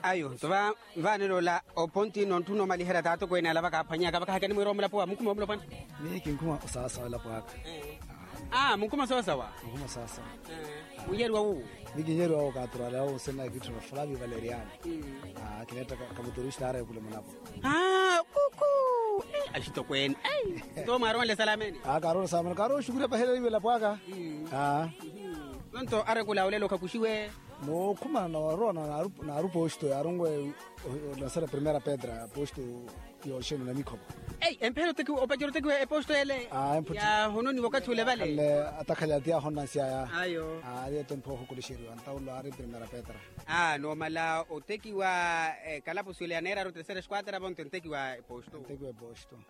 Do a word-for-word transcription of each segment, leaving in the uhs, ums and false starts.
Ayo nto vaanelo ola oponti nontthuna omaliherya taatokweene ala vakaaphwanyaka vakahaka nimwiira omulapo wa munkhuma omulapo ani? Miyo kinkhuma osaasawa elapo aka. Aa munkhuma soosawa. Munkhuma soosawa. Munyeriwa wuwo. Miyo kinyeriwa wuwo kaaturale awo sena kitthuna fulavi valeriani. Kineetta kamuturista areekule munapo. Aa kuku. Axitokweene. Nto mwaaronle salameni. Aa kaaronle salameni kaaronle oxukuriya pahela iwe elapo aka. Aa. Nonto areekule awo lelo khakuxiwe. Nookhumana nooruwa naarupa oxito yaaronwe. Onansala primeira pedra posto. Yooxeno na mikhopo. Ei empheela opacerya otekiwa eposto ele. Yaahononiwa okathi ule vale. Atakhalya ti ahonansyaya. Ayo. Ari etempo ohukulixeriwa ntawulo ari primeira pedra. Noomala otekiwa ekalapusi ole yaneeraru terceira esquadra vonto entekiwa eposto.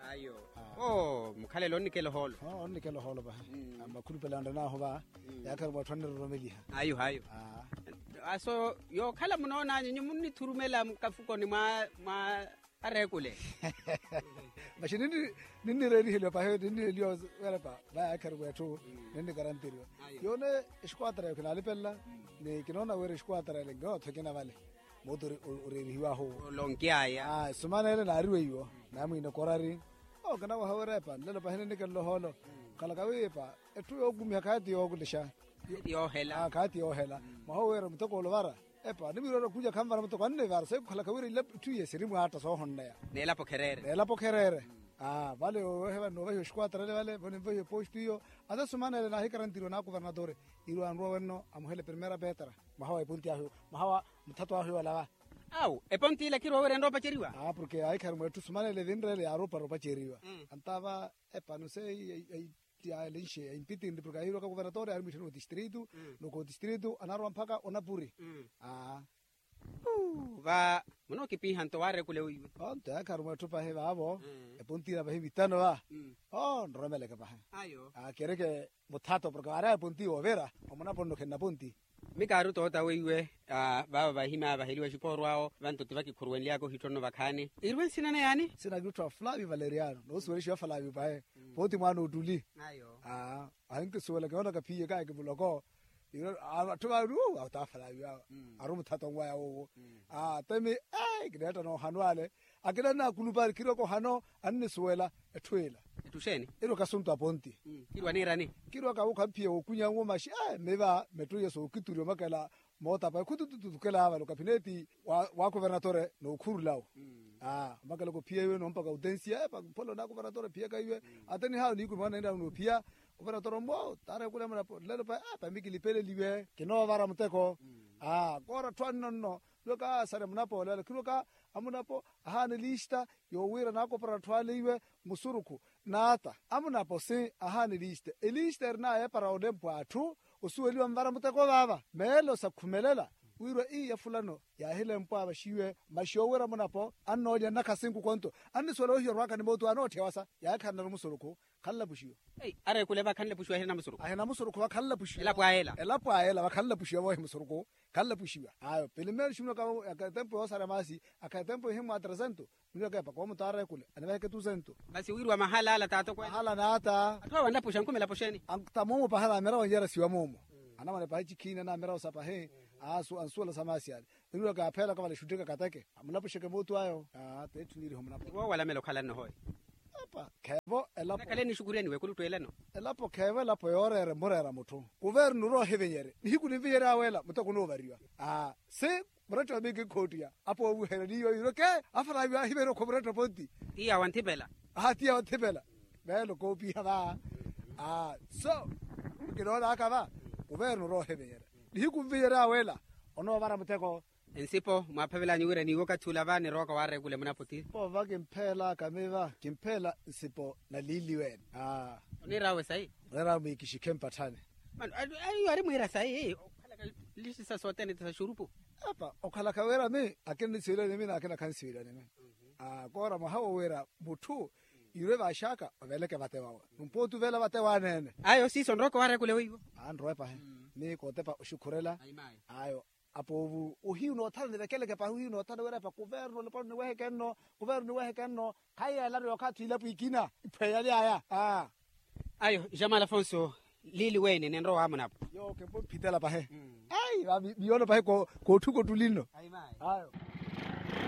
Ayo. Oo mukhalelo onnikela ohoolo. Onnikela ohoolo vahi. Makhulupela onre naahu va. Yaakharu mwatthu aniroromeliha. Ayo ayo. Aso yookhala munoonanyu nyu munnithurumela mukafukoni mwa mwa areekule. Maxi ninnireeriheliwa pahi ninnireeriheliwa werepa. Vayaakharu mweetthu ninnikarantiriwa. Yoone exquadra yo khinalipelela. Ni kinoona wira exquadra ele nkinootho ekina vale. Mooti oreerihiwahu. Olonkyaya. Sumana ele naariweiwo. Naamwiina okorari. Ookina waha wira epa nlelo pahi ninnikela ohoolo. Khalaka wiipa etthu yookumiha khaati yookulixa. Khaati yoohela. Mwaha oweera muteko oluvara. Epa nimwiirowera okhuja khanvara muteko annivara sayi khukhalaka wira etthu iye sirimwaatta soohonneya. Neelapo khereere. Neelapo khereere. Vale yooheva noovahiwa exquadra ele vale vo ninvahiwa eposto iyo. Ata sumana ele naahikarantiriwa naakuvernatori. Iirwa anruwa wenno amuhele primeira pedra. Mwaha wa eponti ahu mwaha wa muthato ahu yoolava. Awu eponti ila khirwa wira enroopaceriwa. Porke ahikhari mweetthu sumana ele vinreele yaaroopara opaceriwa. Antava epano se. Ti alenxe aimpitinri porke ahiroka kuvernatori ari mwiittha ni otistritu. Noko otistritu anarowa mpakha onapuri. Va munookipiiha nto waarekule weiwe. Onto yaakharu mweetthu pahi vaavo. Eponti ina pahi vitano va. Nromeleke pahi. Kereke muthato porke vaari eponti woovira. Omunapo nno khenna ponti. Mikaari otoota weiwe. Vaava vahimya vaheliwa exikooro awo vanto ti vakikhuruwenlyaka ohittonno vakhaani. Iriwe nsina naye yaani? Nsina kitthu a flavio valeriano noosuwelixiwa flavio pahe. Pooti mwaana ottuli. Ahinkisuwela kinoonaka phiye kaaki muloko. Atthu vaari ata flavio awo. Ari omuthato nwaya wowo. Temi kineetta noohanwa ale. Akina annaakulupa ari khirwaka ohano annisuwela. Etthu ila. Etthu xeeni? Iri okasuntu aponti. Kirwa niirani? Kirwaka wukhamphiya wokunyanwo maxi. Miva mettwiya sookituriwa omakela. Mootapa ekhutututukela vale okapineeti. Wa kuvernatore nookhurulawo. Omakela kophiya iwe noompaka utensiya epa mphola onaakuvernatore phiyaka iwe. Ata nihaawo niikumi anainrawo noophiya. Kuvernatore ommo taara ekula munapo lelo pa epa mikilipeleliwe kinoovara muteko. Koora atthu anno nno. Lwaka sari munapo olelo khilwaka. Amunapo ahaana eliista yoowira naakopara atthu ale iwe musurukhu. Naata amunapo si ahaana eliista eliista erinaya epara olempwa atthu. Osuweliwa nvara muteko vaava meelo sakhumelela. Wirwa iiya fulano yaahilempwa vaxiwe maxi oowira amunapo annoolya nnakha sinku konto. Annisuwela ohiya orwaka ni mootu anootthiya wasa yaakhannaru musurukhu. Khanlapuxiwa. Areekule vakhanlapuxiwa ahirina musurukhu ahirina musurukhu vakhanlapuxiwa elapo ayela. Elapo ayela vakhanlapuxiwa voohi musurukhu. Khanlapuxiwa ayo pilimeero ximuna katempo yoosarya maasi. Akha etempo ihimmwa tresento. Mwiiraka epa koomuta areekule anivaheke tusento. Masi wiiriwa mahala ala taatokweene mahala naata. Atthu awo anlapuxa nkhumelapo xeeni? Anta moomo pahala amira wanjarasiwa moomo. Anamwane pahi cikhiini anamira osa pahi. Ansuwela sa maasi ale. Nirwaka apheelaka vale xuttika kateke amulapuxeke mootu ayo. Teetthu niiriho munapo woowalamela okhala nno hooyi. Epa kheevo elapo. Nakhaleni nixukuriyani weekulu ttweelano. Elapo kheevo elapo yooreera emureera mutthu. Kuvernu roohivinyerye nihiku ninvinyerye aweela muteko onoovariwa. Aa si muretto wa mingi nkhoottiya. Apoovuherya niiwo yiirwe ke afaravi aahiveriwa kho muretto ponti. Tiya wanthipela. Aha tiya wanthipela. Meelo koopiha va. Aa so kinoonaka va. Kuvernu roohivinyerya nihiku nvinyerye aweela. Onoovara muteko. Nsipo mwaaphavelanyu wira niiwo okathi ula va nirooka waareekule munapo ti. Poova kimpheelaka miva kimpheela nsipo na liiliweene. Oniiraawe sayi. Oniiraawe mwiikixikhe mpatthani. Mano ayo ari mwiira sayi okhalaka lixisa sothene ti sa xurupu. Apa okhalaka wira mi akina nisiweliwa nimi na akina khansiweliwa nimi. Koora mwaha wo wira mutthu iirwe vaaxaka oveleke vate wawe. Numpooti ovela vate waaneene. Ayo siiso nrooko waareekule weiwo. Anrowe pahi. Ni kootepa oxukhurela. Ayo. Apoovu ohiyu noothana nivekeleke pahi ohiyu noothana wira epa kuvernu olopano niweheke nno. Kuvernu niweheke nno. Khayi yeelano yookhathi ilapo ikina iphweyaly'aya. Ayo jamal afonso. Liili weene ninrowa waamunapo. Yo kempo mphitela pahi. Ayi viyoono pahi kootthuka ottuli nno. Ayo.